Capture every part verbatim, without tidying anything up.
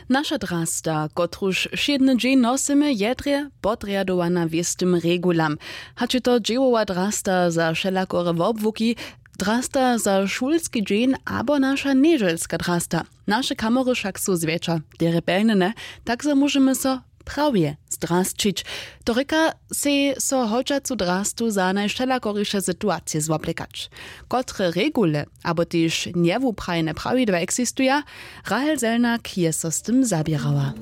Naša drasta, kotruž wšědny dźeń nosymy, je drje podrjadowana wěstym regulam. Hač je to dźěłowa drasta za wšelakore wobłuki, drasta za šulski dźeń abo naša njedźelska drasta. Naše kamory wšak su zwjetša derje pelnjene, tak zo móžemy so prawje zdrasćić. To rěka, sej so hodźacu drastu za najwšelakoriše situacije zwoblekać. Kotre regule abo tež njewuprajene prawidła eksistuja? Rahel Selnak je so z tym zaběrała.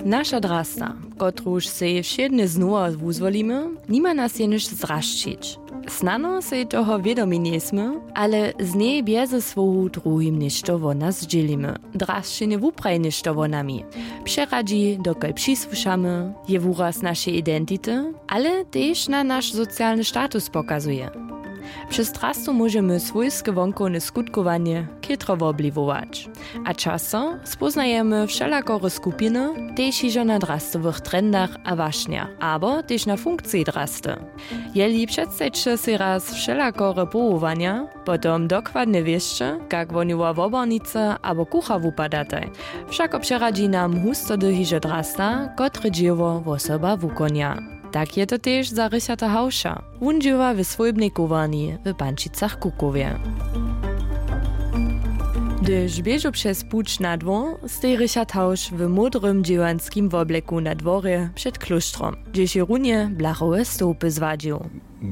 Naša drasta, kotruž sej wšědnje znowa wuzwolimy, nima nas jenož zrašćić. Snano sej toho wědomi njejsmy, ale z njej bjeze słowow druhim něšto wo nas zdźělimy. Drasćenje wupraji něšto wo nami, přeradźi, dokelž přisłušamy, je wuraz našej identity, ale tež na naš socialny status pokazuje. Přez drastu móžemy swójske wonkowne skutkowanje chětro wobliwować. A často spóznajemy wšelakore skupiny, tež hižo na drastowych trendach a wašnjach, abo tež na funkciji drasty. Jeli předstajće sej raz wšelakore powołanja, potom dokładnje wěsće, kak wohnjowa wobornica abo kuchar wupadataj. Wšako přeradźi nam hustody hižo drasta, kotre dźěło wosoba wukonja. Tak je to tež za Richarda Hauša. Wón dźěła w swójbnej kowarni w Pančicach-Kukowje. Hdyž běžu přez puć na dwór, steji Richard Hauš w módrym dźěłanskim wobleku na dworje před klóštrom, hdźež je runje blachowe stołpy zwadźił.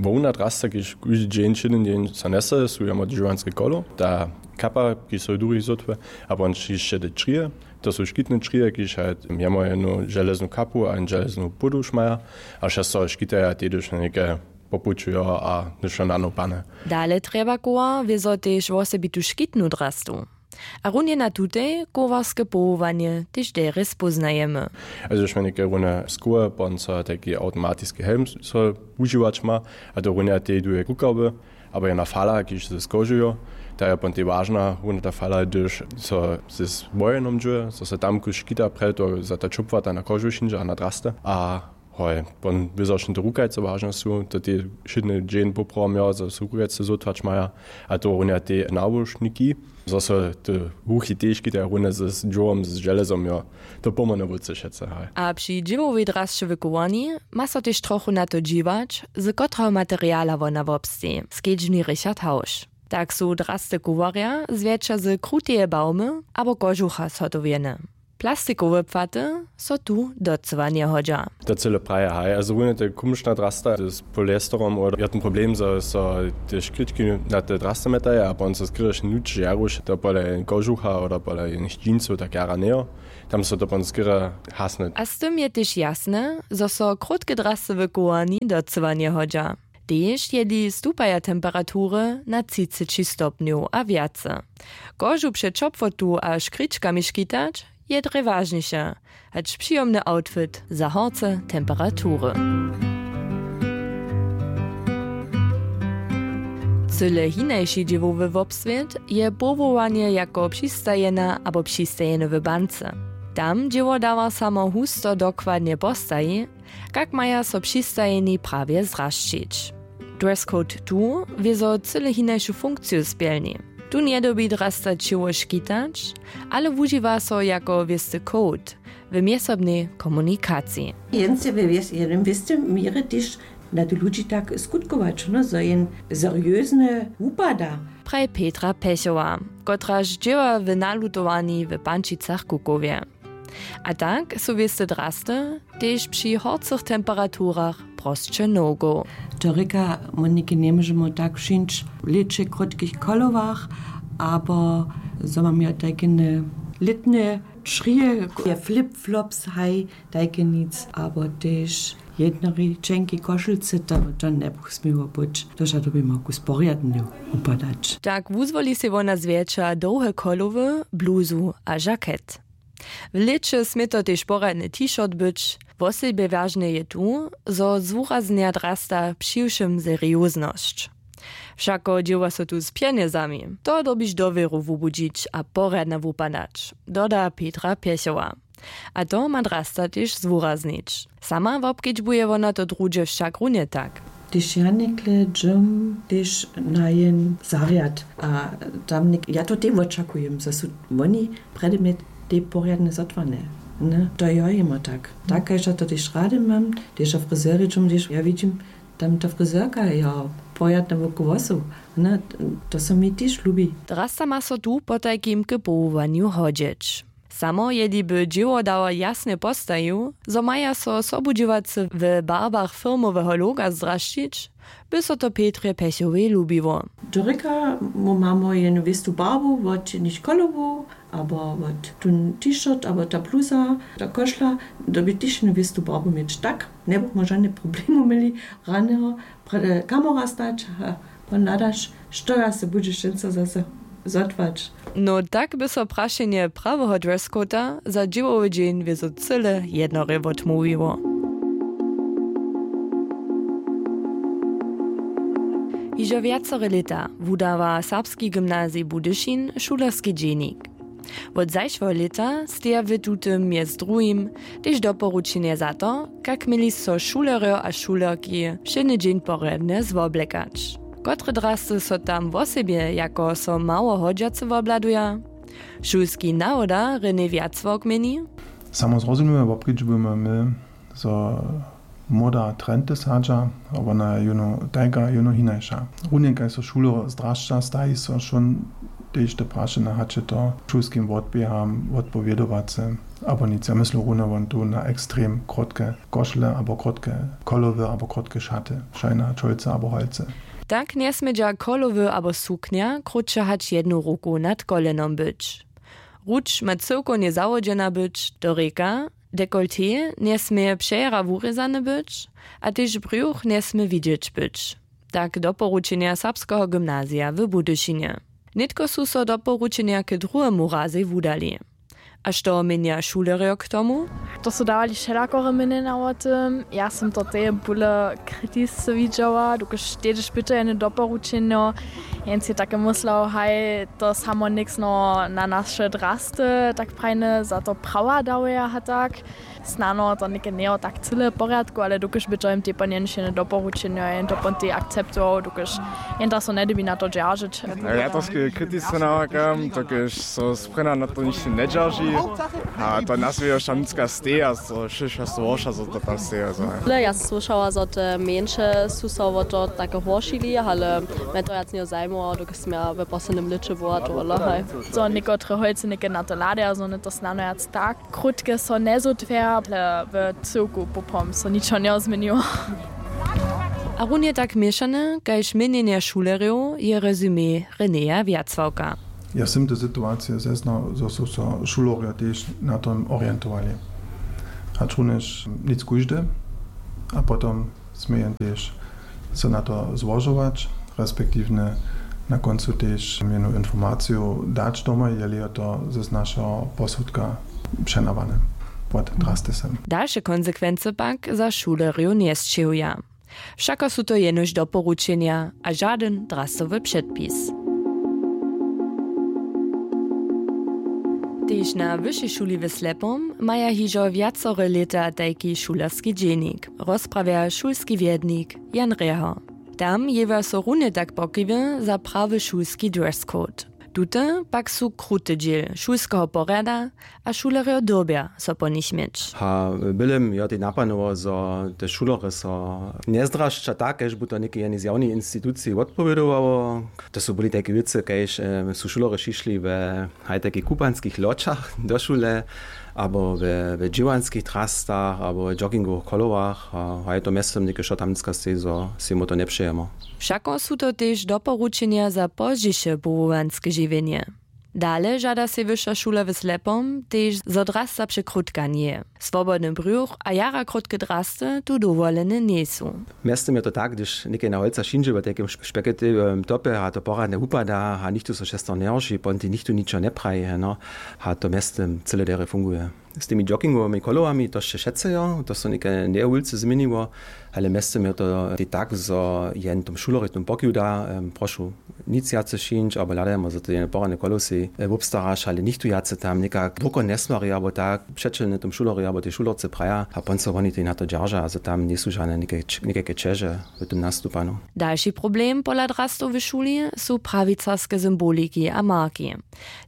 Hłowna drasta, kiž kóždy dźeń, wšědny dźeń so njese, su jemu dźěłanske kolo, ta kapa, kiž so duhi zhotuje, a won hišće te črije. To su škitne črije, kiž haj jemu jednu železnu kapu a jednu železnu póduš maja, a wšak so škitaja tež něke popućujo a něšto nanopane. Dale trjeba koła wězo tež wosebitu škitnu drastu. A runje na tutej kowarske powołanje tež derje spóznajemy. Also, šmjenike runje skoły, pon so tajki awtomatiski helm so wužiwać ma, a to runje tej duje kukawy, abo jedna fala, kiž se skožujo, ta je pon tej wažna, runje ta fala, hdyž so z wojenom dźuje, so se tam kuž škita, prje to za ta čopłata na kožu šinźa a na draste. A hoj, pon wězošny te rukajce wažne su, to tej wšědny dźeń poprawom jo, zo su rukajce zhotwać maja, a to runje tej nawušniki, zo so te ruchi tež kitaja runje z dźěłom, z železom, jo. To pomhony wótře wšetcy, haj. A při dźěłowej drasće w kowarni ma so tež trochu na to dźiwać, z kotreho materiala wona wobsteji, skedźbni Richard Hauš. Tak su drasty kowarja zwjetša z kruteje bawmy abo kožucha zhotowjene. Plastikowe płaty so tu docyła njehodźa. To cyle praje, haj. Also runje te kumšna drasta z polyesterom, oder je ten problem, zo so te škrički na te drasty metaja a pon so skrěrješ nuč žaruš, to pole kožucha oder pole jenych džinsow tak jara njejo. Tam so to pon skerje hasne. A z tym je tež jasne, zo so krótke drasty w kowarni docyła njehodźa. Tež jeli stupaja temperatury na třiceći stopnjow a wjace. Kožu před ćopłotu a škričkami škitać je drje wažniše, hač přijomny outfit za horce temperatury. Cyle hinaši dźěłowy wobswět je powołanje jako přistajena abo přistajeny w bance. Tam dźěło dawa samo husto dokładnje postaji, kak maja so přistajeni prawje zrašćić. Dress code tu wězo cyle hinašu funkciju spjelni. Tu njedyrbi drasta ćěło škitać, ale wužiwa so jako wěsty code w mjezsobnej komunikaciji. Jen se we wjes-, jednym wěstym měrje tež na te ludźi tak skutkować, no, zo jen seriozne wupada. Praji Petra Pjechowa, kotraž dźěła w nalutowarni w Pančicach-Kukowje. A tak su wěste drasty tež při horcych temperaturach prosće no-go. To rěka, Moniki, njemóžemy tak wšińć w lěće w krótkich kolowach, abo zo mamy tajkene lětne črije, flip-flops, haj, tajke nic, abo tež jednori ćenki košulce, to, to njebuch směło być. To wšak dyrbimy ku sporjadnju wupadać. Tak wuzwoli sej wona zwjetša dołhe kolowy, bluzu a žaket. W lěće smě to tež porjadny t-shirt być. Wosebje wažne je tu, zo zwuraznja drasta přiwšěm serioznosć. Wšako dźěła so tu z pjenjezami. To dyrbiš dowěru wubudźić a porjadnje wupadać, doda Petra Pjechowa. A to ma drasta tež zwuraznić. Sama wobkedźbuje wona to druhdźe wšak runje tak. Hdyž ja někle dźěłam tež na jen zarjad a tam něk-, ja to tej wočakujem, zo su woni prjedy mje Tej porjadne zotłane. Ne, to jo jima tak. Tak kaž ja to tež rady mam, tež ja frizerječom tež ja widźim, tam ta frizerka jo porjadne wokowłosow. Ne, to so mi tež lubi. Drasta ma so tu potajkim k powołanju hodźeć. Samo jeli by dźěłodało jasnje postajił, zo maja so sobudźěłacy w barbach firmoweho loga zdrašćić, by so to Petrje Pjechowej lubiło. Dorěka mu mamy jenu wěstu barbu wot jich kolowow abo wot tón t-shirt abo ta bluza, ta košla, dyrbi tež jenu wěstu barbu měć, tak njebuchmy žane problemu měli. Raneho kamora stać a pon hladaš, što ja se budźeš dźensa zaso zotłać. No tak by so prašenje praweho dresscoda za dźěłowy dźeń wězo cyle jednorje wotmołwiło. Hižo wjacore lěta wudawa serbski gymnazij Budyšin šulerski dźenik. Wot zašłeho lěta steja w tutym mjez druhim tež doporučenje za to, kak měli so šulerjo a šulerki wšědny dźeń porjadnje zwoblekać. Kotre drasty so tam wosebje jako so mało hodźace wobhladuja? Šulski nawoda René Wjacławk měni. Samo zrozumimy wobkedźbujemy my, zo moda trendy sadźa, a wona jónu tajka jónu hinaša. Runje kaž so šulerjo zdrašća, staji so wšón tež te prašenje, hač je to šulskim wotběham wotpowědowace abo nic. Ja myslu runje won tu na ekstrem krótke košle abo krótke kolowy abo krótke šaty, šajna čolce abo holce. Tak njesmědźa kolowy abo suknja krótše hač jednu ruku nad kolenom być. Ruč ma cyłkownje zawodźena być, to rěka, dekolté njesmě přejera wurězane być a tež brjuch njesmě widźeć być. Tak doporučenja serbskeho gymnazija w Budyšinje. Nětko su so doporučenja k druhemu razej wudali. A što měnja šulerjo k tomu? To su dawali wšelakore měnjenja wo tym. Ja sym to teje bóle kritisce widźała, dokelž tež pytajene doporučenjo. Jen si take myslał, haj, to samo něksno na naše drasty tak prajne za to prawa dawaja a tak. Snano to něke njejo tak cyle w porjadku, ale dokelž by to jen tej pon jen wšědne doporučenjo jen to pon tej akceptował, dokelž jen da so njedybi na to dźeržeć. Ja to sk-, kritisce nawakam, dokelž so sprjena na to ničo njedźerži. A to nas wějo šamnicka steja, so šěsćdźesat worša, zo to tam steja, zo. Ale ja sam słyšała, zo te mjeńše su so wo to take horšili, ale mje to wjac njejo zajmowało, dokelž sym ja w poslednim lěće była tohodla, haj. Zo někotre holcy něke na to hladaja, zo one to snano wjac tak krótke so njezutwjerja, ale w cyłku poprawom so ničo njezměniło. A runje tak měšane kaž měnjenje šulerjow je rezumé Renéja Wjacławka. Ja sym te situacije zeznał, zo su so šulerjo tež na tom orientowali. Hač runjež nic kóždy, a potom smějemy tež so na to złožować, respektiwnje na kóncu tež mjenu informaciju dać domoj, jeli je to z našeho posudka přenawane wot drastysem. Dalše konsekwency pak za šulerjow njesćěhuja. Wšako su to jenož doporučenja a žadyn drastowy předpis. Tež na wyšej šuli w Slepom maja hižo wjacore lěta tajki šulerski dźenik, rozprawja šulski wjednik Jan Reho. Tam jěwja so runje tak pokiwy za prawy šulski dress code. Tute pak su kruty dźěl šulskeho porjada a šulerjo dyrbja so po nich měć. A w bělym jo tej napanował, zo te šulerjo so njezdrašća tak, kaž by to někaj jeni zjawnej instituciji wotpowědowało. To su byli tajke wěcy, kaž su šulerjo šišli we haj takich kupanskich loćach do šule, abo we, we dźěłanskich trastach abo we joggingowych kolowach. A haj to mjeztym něke što tam něcka steji, zo sej mu to njepřejemo. Wšako su to tež doporučenja za pozdźiše powołanske žiwjenje. Dale žada sej wyša šula w Slepom tež, zo drasta překrótka njeje. Swobodny brjuch a jara krótke drasty tu dowolene njejsu. Mjeztym je to tak, hdyž někaj na holca šindźe w tajkim špeketiwym topje a to poradnje wupada a nichtó so šestor njehorši, ponti nichtó ničo njepraji, no, a to mjeztym cyle derje funguje. Z tymi joggingowymi kolowami to sće wšetcy jo, to so někaj njeje wulce změniło. Ale mjeztym je to tej tak, zo jen tom šulerjej tom pokiw da, em, prošu, nic wjace šińć, abo hladajmy, zo to jen porane kolosej, e, wobstaraš, ale nichtó wjace tam někak woko njesměri abo tak přećelne tom šulerjej abo tej šulerce praja, a pon so woni tej na to dźerža, zo tam njejsu žane někaj č-, někajke ćeže w tom nastupanu. Dalši problem pola drastow w šuli su prawicarske symboliki a marki.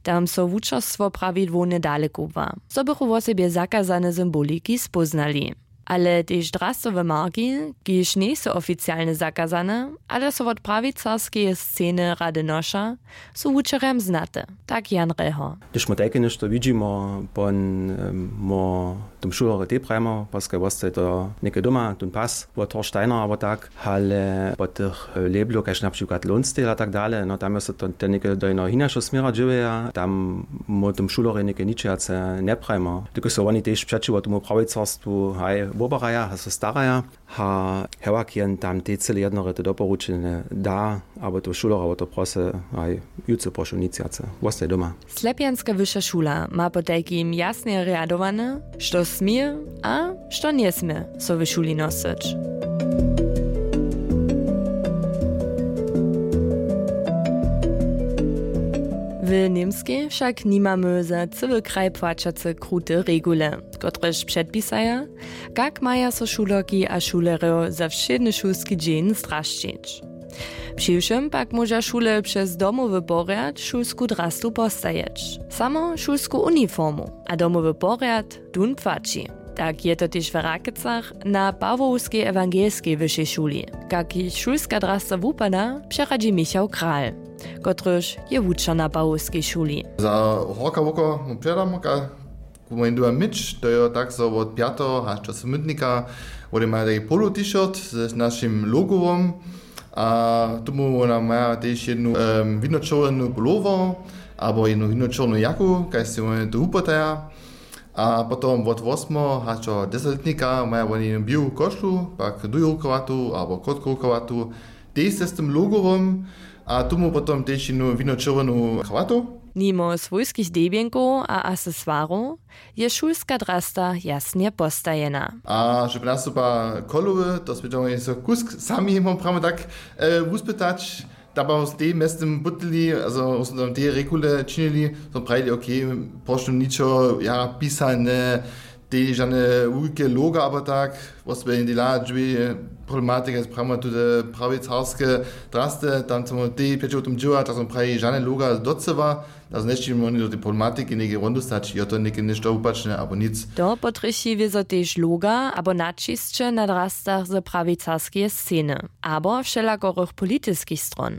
Tam so wučerstwo prawidłownje dalekubła, zo bychu wosebje zakazane symboliki spóznali. Ale tež drastowe marki, kiž njejsu oficialnje zakazane, ale so wot prawicarskeje sceny rady noša, su wučerjam znate, tak Jan Reho. Hdyž my tajke něšto widźimo, pon, em, mo tom šulerjo tej prajimo, paske wostaje to něke doma, tón pas wot Horsteiner abo tak, ale po tych, e, lablow, kaž na přikład Lonsdale a tak dale, no tam je so to, te něke do jednoho hinašeho směra dźěłeja, tam my tom šulerjej něke ničejace njeprajimo. Tykoj so woni tež přećiwo tomu prawicarstwu, haj, wobaraja a so staraja. A hewak jen tam tej cyle jednore to doporučenje da, abo to šulerjo wo to prosy, haj, jutře prošu nic wjace, wostaj doma. Slepjanska wyša šula ma potajkim jasnje rjadowane, što smě a što njesmě so w šuli nosyć. W Němskej wšak nimamy za cyły kraj płaćace krute regule, kotrež předpisaja, kak maja so šulerki a šulerjo za wšědny šulski dźeń zdrasćić. Přiwšěm pak móža šule přez domowy porjad šulsku drastu postajeć. Samo šulsku uniformu a domowy porjad, tón płaći. Tak je to tež w Rakecach na Pawłowskej ewangelskej wyšej šuli. Kak jich šulska drasta wupada, přeradźi Michał Kral, kotryž je wučer na Pawłowskej šuli. Za horka woko mu předam, ka-, ku mojim doma myć, to je tak, zo wot pjateho hač do smytnika wone maja tajki polo t-shirt z našim logowom. A tomu wona maja tež jednu, em, winočerwjenu pullower abo jednu winočerwjenu jaku, kaž sej wone to wupotaja. A potom wot wosmeho hač do dźesatlětnika maja woni jednu běłu košlu, pak dłujurkowatu abo krótkorukowatu, tež z tym logowom. A tomu potom tež jednu winočerwjenu krawatu. Nimo swójskich debjenkow a accessoirow je šulska drasta jasnje postajena. A že nastupa kolowy, to smy dźeli so kusk sami, mam prawo tak, e, wuspytać. Tam pak tej mjeztym butli, also smo tam tej regule činili, smo prajili, okay, prošlu ničo, ja, pisane, tej žane wulke loga abo tak, wosebje dela dźěli problematika, prajimo tute prawicarske drasty, tam smo tej přećiwo tom dźěła, tak smo prajili žane loga docyła. A znešćim woni do tej problematiki něke won dóstać, jo, to něke něšto wupačne abo nic. To potrjechi wězo tež loga abo naćisće na drastach z prawicarskeje sceny abo wšelakorych politiskich stron,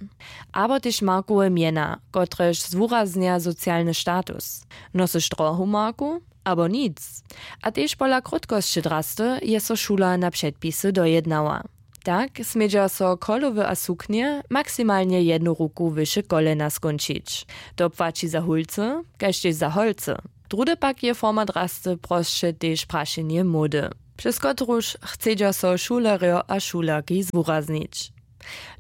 abo tež markowe mjena, kotrež zwuraznja socialny status. Nosyš drohu marku abo nic. A tež pola krótkosće drasty je so šula na předpisy dojednała. Tak smědźa so cholowy a suknje maksimalnje jednu ruku wyše kolena skónčić. To płaći za hólcy kaž tež za holcy. Druhdy pak je forma drasty prosće tež prašenje módy, přez kotruž chcedźa so šulerjo a šulerki zwuraznić.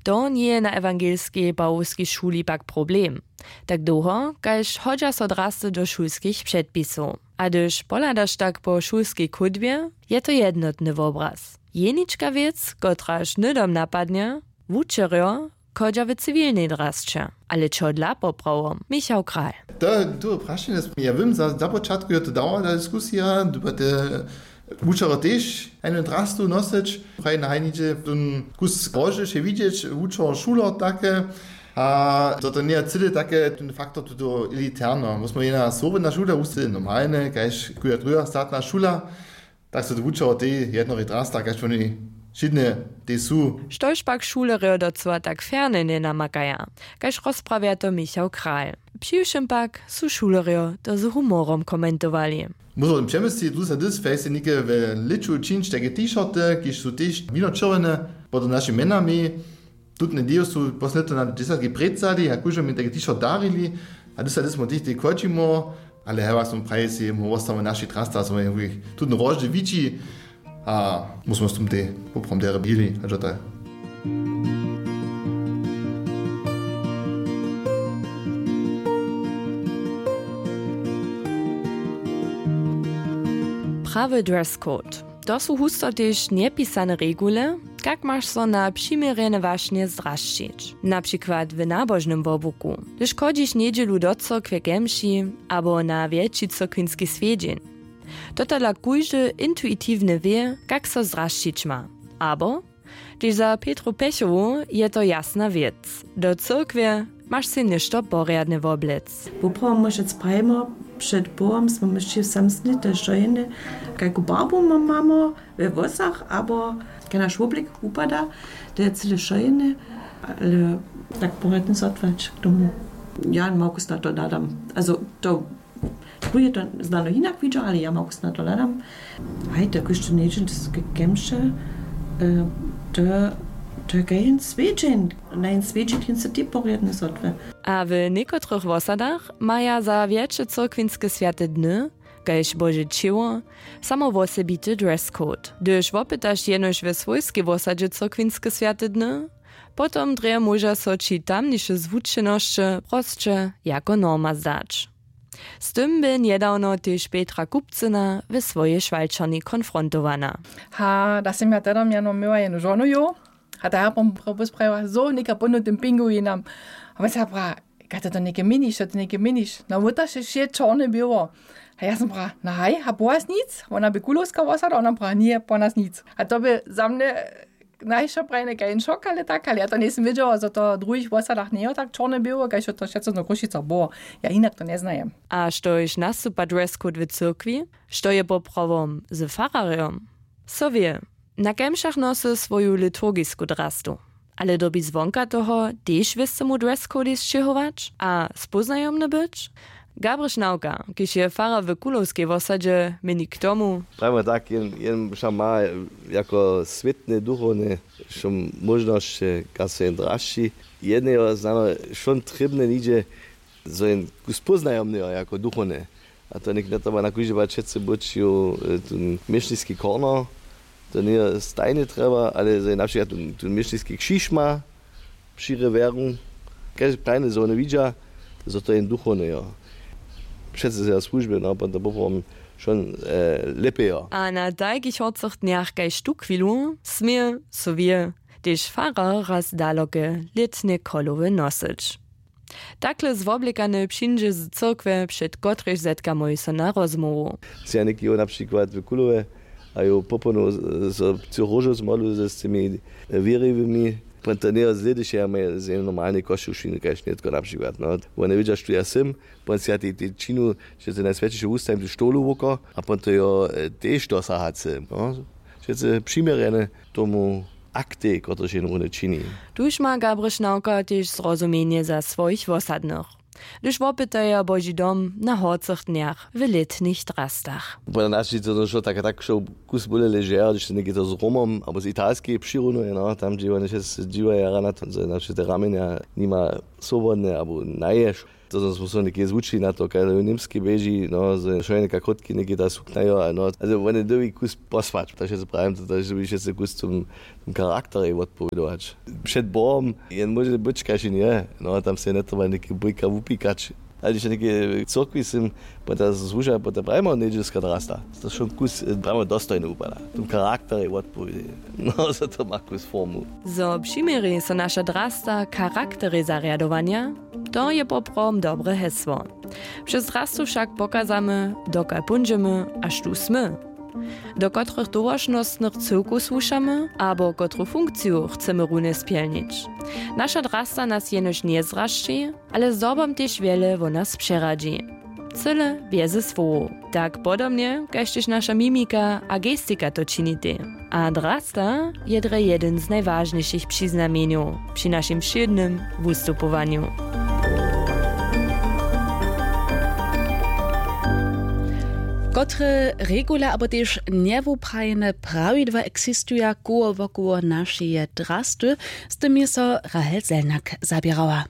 To njeje na ewangelskej pawłowskej šuli pak problem, tak dołho kaž hodźa so drasty do šulskich předpisow. A hdyž pohladaš tak po šulskej chódbje, je to jednotny wobraz. Jenička wěc, kotraž hnydom napadnje, wučerjo chodźa w ciwilnej drasće. Ale čehodla poprawom? Michał Kral. To je dobre prašenje. Ja wěm, za, za počatku je to dała ta diskusija, dyrbja te wučerjo tež hajnu drastu nosyć, praji na hajniče tón kus rožy še widźeć, wučerjo, šuler, take. A to, to njeje cyle take, tón faktor tuto elitarno. My smo jedna słowjena šula, wustej normalne kaž koja druha statna šula. Tak so to wučerjo tej jednorej drasta, kaž woni wšědnje tej su. Štož pak šulerjo docyła tak ferne njenamakaja, kaž rozprawja to Michał Kral. Přiwšěm pak su šulerjo to z humorom komentowali. Móžo wón přemyslić, dluse dys fejse něke w lěću čińć tajke t-shirty, kiž su tež winočerwjene pod našimi mjenami. Tutne ideju su poslednje lěto na dźesatki prěcali a kóždemu tajki t-shirt darili. A dys a dys smo tež tej chodźimo, ale hewak smo prajili sej, my wostamy w našich drastach, a smo jich tutny roždy widźi. A my smo z tym tej poprawom derje bili, a to je. Prawy dress code. To su husto tež njepisane regule, kak maš so na přiměrjene wašnje zdrasćić, na přikład w nabožnym wobłuku, hdyž chodźiš njedźelu do cyrkwje ke mši abo na wjetši cyrkwinski swjedźeń. Totola kóždy intuitiwnje wě, kak so zdrasćić ma. Abo tež za Petru Pěchowu je to jasna wěc. Do cyrkwje maš sej něšto porjadne woblec. Woprawom móžec prajimo, před Bohom smy myšli samsny te šojene, kajku barbu mam mamo we włosach abo kaj naš woblik wupada, to je cyle šojene. Ale tak porjadne zotwać k tomu. Ja małkus na to nadam, also to tu je to znano hinak widźał, ale ja małkus na to nadam. Haj, to kóždy njedźel ke kemše, to to je kaž jen swjedźeń, na jen swjedźeń hince tej porjadne zotwy. A w někotrych wosadach maja za wjetše cyrkwinske swjate dny, kaž Bože ćěło, samo wosebity dress code. Hdyž wopytaš jenož we swójskej wosadźe cyrkwinske swjate dny, potom drje móža so ći tamniše zwučenosće prosće jako norma zdać. Z tym bě njedawno tež Petra Kupcyna we swojej šwalčerni konfrontowana. Ha, da sym ja tedomjeno měła jenu žonu jo. A ta ja pom posprajiła zo něka ponutym pingu jinam. A wón se pra, kaj to něke měniš, to něke měniš, no wótaše wše čorne běło. A ja sym pra, no haj, a po was nic? Wona bě kulowska wosada, ona pra, nje, po nas nic. A to bě za mnje najšoprajne kaž jen šok, ale tak, ale ja to njejsym wědźała, zo to w druhich wosadach njejo tak čorne běło, kaž to wšetco na Krušicach było. Ja hinak to njeznajem. A štož nastupa dress code w cyrkwi? Što je poprawom z fararjom? So wě, na kemšach nosy swoju liturgisku drastu. Ale dyrbi zwonka toho tež wěstemu dress code sćěhować a spóznajomny być? Gabrich Nawka, kiž je farar w Kulowskej wosadźe, měni k tomu: Prajimy tak, jen jen wšak ma jako swětne duchowne wšo móžnosće, kaž so jen drašći. Jedneho znano wšo trěbne nihdźe, zo jen kus póznajomneho jako duchowne. A to něk njetrjeba nakóždźe bać wšetcy być ju tón měšniski korno. To njeje stajnje trjeba, ale zo jen na přikład tón měšniski křiž ma při rewjeru, kaž prajne zo wone widźa, zo to jen duchownejo. Přece za słužby no potom poprawom wšo lěpejo. A na tajkich horcych dnjach kaž tuchwilu smě, so wě, tež farar raz daloke lětne cholowy nosyć. Takle zwoblekany přińdźe z cyrkwje, před kotrejž zetkamoj so na rozmołwu. Sej ja něki jow na přikład w Kulowje a jow popolnow so cych róžow zmodlu z tymi wěriwymi, pon to njejo slědyše ja maj z jednej normalnej košćušiny kaž nětko na přikład no. Wone wědźa štó ja sym, pon sej ja tej tej činu, že to najswjaćeše wustajim tu štowlu woko a pon to jo tež dosaha chce no. Wšetcy přiměrjene tomu aktej, kotryž jen runje čini. Tuž ma Gabrich Nawka tež zrozumjenje za swojich wosadnych, hdyž wopytaja Boži dom na horcych dnjach w lětnych drastach. Pola nas je to šło tak a tak šło kus bóle ležer, hdyž to něke to z Romom abo z Italskeje přirunuje no, tam dźe wone wšetcy dźiwaja rana to, zo na wšetcy te ramenja nima swobodne abo naješ. To zo smy so něke zwučili na to, kaž w Němskej běži no, zo je wšo něka krótki něke ta suknajo a no, ale wone dyrbi kus posłać, to wšetcy prajim to, to dyrbi wšetcy kus tym charakterjej wotpowědować. Před Bohom jen móže być kaž jen je, no tam sej njetrjeba něke bójka wupikać. Ale hdyž něke w cyrkwi sym, potem słuža, potem prajimo njedźelska drasta, to wšo kus prajimo dostojne wupada, tym charakterjej wotpowědej. No zo to ma kus formu. Zo přiměri so naša drasta charakterjej zarjadowanja, to je poprawom dobre hesło. Přez drastu wšak pokazamy, dokal póńdźemy a štó smy, do kotrych towaršnostnych cyłkow słušamy abo kotru funkciju chcemy runje spjelnić. Naša drasta nas jenož njezdrasći, ale zdobom tež wjele wo nas přeradźi. Cyle bjeze słowow, tak podobnje kaž tež naša mimika a gestika to činitej. A drasta je drje jedyn z najwažnišich přiznamjenjow při našim wšědnym wustupowanju. Kotre regule abo tež njewuprajene prawidła eksistuja koło wokoło našeje drasty, z tym je so Rahel Selnak zaběrała.